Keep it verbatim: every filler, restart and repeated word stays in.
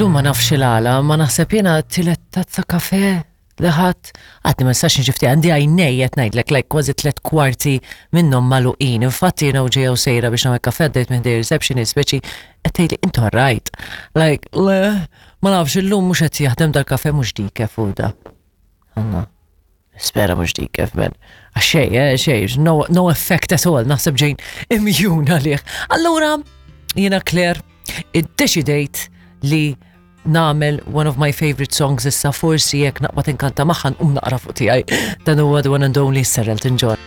Illum ma nafx il-għala, ma naħseb jiena tielet tazza kafe li ħadd għadni ma nistax nġifti għandi għajnej qed ngħidlek like kważi tliet kwarti minnhom magħluqin. Infatti jiena u ġejja u sejra biex nagħmel kafe għaddejt minn ħdejn receptionist speċi qed tgħidli intu right. Like, le, ma nafx illum mhux qed jaħdem dal-kafe mhux decaf u da. Għanna. Spera mhux decaf, man. Għax xej, eh, xej, no, no effect at all, naħseb ġejn immune għalih. Allura, jiena Claire, iddeċidejt li nagħmel one of my favorite songs issa forsi jekk naqbad inkanta magħha nqum naqra fuq tiegħi. Dan huwa the one and only Sir Elton John.